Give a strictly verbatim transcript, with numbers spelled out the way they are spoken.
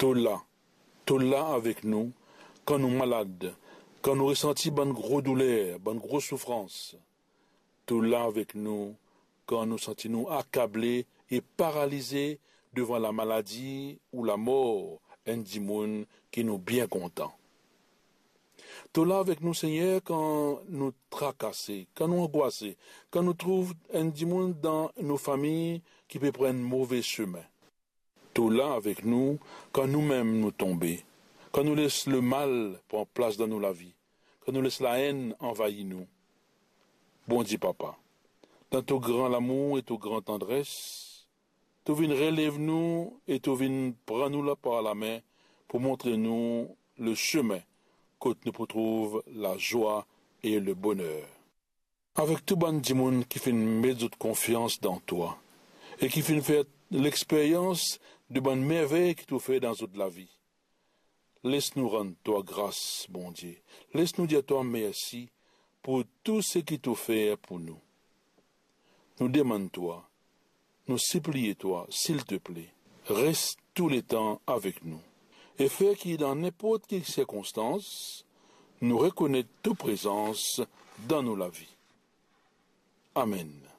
To la, to la avek nou kan nou malad, kan nou resanti bann gro douler, bann gro soufrans. To la avek nou kan nou santi nou akable e paralize devan lamaladi ou lamor enn dimoun ki nou bien kontan. To la avek nou, Segner, kan nou trakase, kan nou angwase, kan nou trouv enn dimoun dan nou fami ki pe pran enn move sime. To la avek nou kan noumem nou tonbe, kan nou les lemal pran plas dan nou lavi, kan nou les laenn anvair nou. Bondie Papa, dan to gran lamour e to gran tandres, to vinn relev nou e to vinn pran nou la par lame pou montre nou lesime kot nou pou trouv lazwa e leboner. Avek tou bann dimoun ki finn met zot konfians dan twa e ki finn fer lexperyans de bann mervey ki to fer dan zot lavi, les nou rann twa gras, Bondie. Les nou dir twa mersi pou tou seki to fer pou nou. Nou demann twa, nou sipliye twa, silteple, res touletan avek nou e fer ki dan ninport ki sirkonstans, nou rekonet to prezans dan nou lavi. Amen.